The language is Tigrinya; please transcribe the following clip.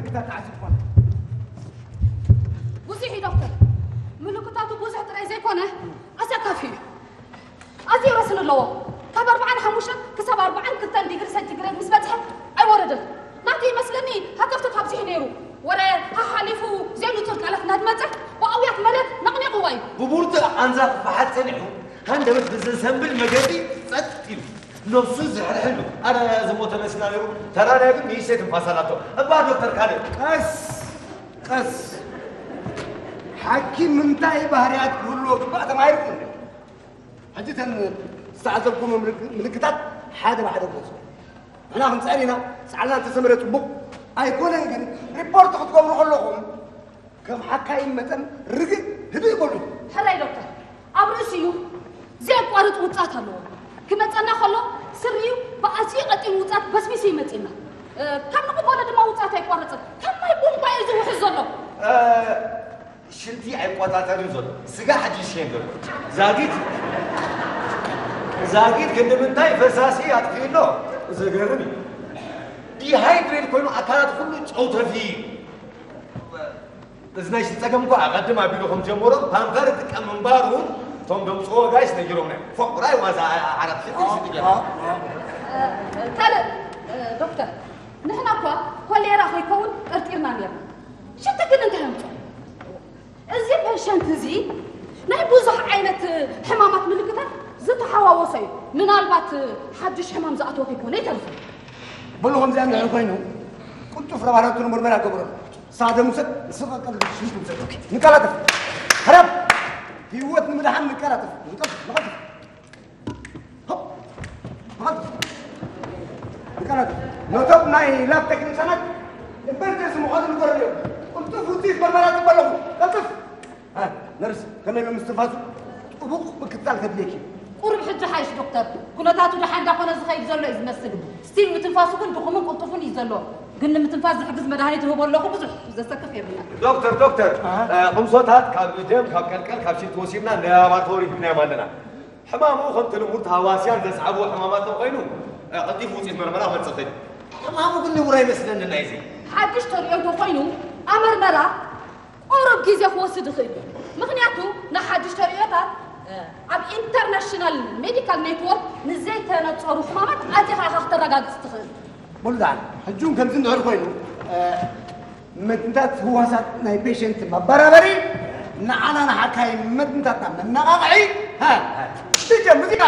ምልክታት ተዓዚብኳ። ብዙሕ እዩ ዶክተር። ምልክታቱ ብዙሕ ጥራይ ዘይኮነ ኣሰካፊ እዩ። ኣዝዩ ረስኒ ኣለዎ። ካብ ኣርብዓን ሓሙሽተን ክሳብ ኣርብዓን ክልተን ዲግሪ ሴንቲግሬድ ምስ በጽሐ ኣይወረደን። ናቱ ይመስለኒ ሃተፍተፍ ኣብዚሑ ነይሩ። ወረ ሓሓሊፉ ዘይንጹር ቃላት እናድመጸ ብኣውያት መሬት ነቕኒቕዋ እዩ። ብቡርትዕ ቃንዛ ክፈሓጥ ጸኒሑ፣ ሃንደበት ብዘሰንብል መገዲ ጸጥ ኢሉ፣ ነብሱ ዝሕርሕሉ። ኣረ ዝሞተ መሲላ ነይሩ። ተራዳይ ግን ንእሽተይ ትንፋስ ኣላቶ። እባ ዶክተር ካልእ። ቀስ ቀስ። ሓኪም እንታይ ባህርያት ክህልዎ ግባእ ተማሂርኩም? ሕጂ እተን ዝተዓዘብኩሞ ምልክ-፣ ምልክታት ሓደ ብሓደ ግለጹ። ንሕና ክንጽዕር ኢና። ጻዕርና እንተሰመረ ጽቡቕ። ኣይኮነን ግን ሪፖርት ክትገብሩ ከለኹም ከም ሓካይም መጠን ርግእ ህድእ በሉ። ሕራይ ዶክተር፣ ኣብ ርእሲ እዩ ዘየቋርጽ ውጽኣት ኣለዎ። ክመጸና ከሎ ስሪኡ ብኣዝዩ ቀጢን ውጽኣት በስቢሱ ይመጽእና። እ፣ ካብ ንቕበሎ ድማ ውጽኣት ኣይቋረጽን። ከም ማይ ቡንባ እዩ ዝውሕዝ ዘሎ። እ፣ ሽንቲ ኣይቆጻጸርን ዘሎ። ስጋ ሕጂ ይሸየን ዘሎ። ዛጊት፣ ዛጊት ክንዲ ምንታይ ፈሳሲ ኣጥፊኡ ኣሎ? ዘገርም እዩ። ዲሃይድሬት ኮይኑ ኣካላት ኩሉ ጨው ተፍዩ እዩ። እዚ ናይ ሽንቲ ጸገም እኮ ኣቐድም ኣቢሉ ከም ጀመሮ ፓምፐር ይጥቀም ምንባሩ እቶም ደምጽዎ ጋይስ ነጊሮምና እዮም። ፎቕ ራይ ዋዛ ዓራት ሽንቲ ሽንቲ ገይሩ። ካልእ፣ እ፣ ዶክተር፣ ንሕና እኳ ኮሌራ ከይከውን ጠርጢርና ነርና። ሽንቲ ግን እንታይ ኣምጽኦ? እዚ ፔሸንት እዚ ናይ ብዙሕ ዓይነት ሕማማት ምልክታት ዝተሓዋወሰ እዩ። ምናልባት ሓድሽ ሕማም ዝኣተወ ከይኮነ ይተርፍ። በሉ ከምዚኣ እንድሕር ኮይኑ ቅልጡፍ ላቦራቶሪ ምርመራ ገበረሉ። ሳደ ሙሰድ ንስኻ ቀልብ ሽንት ውሰድ። ንቀላጠፍ። ሕረፍ። ህይወት ንምድሓን ንቀላጠፍ። ንቀልጥፍ፣ ንቀልጥፍ። ሆፕ፣ ንቀልጥፍ። ንቀላጠፍ። ነቶም ናይ ላብ ቴክኒሻናት ኢመርጀንሲ ምዃኑ ንገረሉ እዮም። ቅልጡፍ ውፅኢት መርመራ ጽበ ኣለኹ። ቀልጥፍ። እ፣ ነርስ፣ ከመይ ኣሎ ምስትንፋሱ? ጥቡቕ ምክትታል ከድልየኪ እዩ። ቁሩብ ሕጂ ሓይሽ ዶክተር። ኩነታቱ ደሓን እንዳኾነ ዝኸይድ ዘሎ እዩ ዝመስል። ስቲል ምትንፋሱ ግን ድኹምን ቅልጡፍን እዩ ዘሎ። ግን ንምትንፋስ ዝሕግዝ መድሃኒት እህቦ ኣለኹ፣ ብዙሕ ዘሰክፍ የብልናን። ዶክተር፣ ዶክተር፣ ኣሃ። እ፣ ኹምሶታት ካብ ደም፣ ካብ ቀልቀል፣ ካብ ሽንቲ ወሲድና ንላቦራቶሪ ሂብናዮም ኣለና። ሕማሙ ከምቲ ልሙድ ተሃዋስያን ዘስዓብዎ ሕማማት እንተኾይኑ፣ እ፣ ቀልጢፉ ውፅኢት መርመራ ክመጽእ ይኽእል እዩ። ሕማሙ ግን ንቡር ኣይመስለንን ናይዚ። ሓድሽ ተርእዮ እንተኾይኑ፣ ኣመርመራ ቁሩብ ግዜ ክወስድ ይኽእል እዩ። ምኽንያቱ ንሓድሽ ተርእዮታት፣ እ፣ ኣብ ኢንተርናሽናል ሜዲካል ኔትወርክ ንዘይተነጸሩ ሕማማት ኣዚኻ ኢኻ ክተረጋግጽ ትኽእል። ሙሉእ ደሓን። ሕጂ እውን ከምዚ እንድሕር ኮይኑ፣ እ፣ መትንታት ህዋሳት ናይ ፔሸንት መበራበሪ ንዓና ንሓካይም መትንታትና መነቓቕዒ፣ ሃ፣ ሃ፣ ዲጀ ሙዚቃ።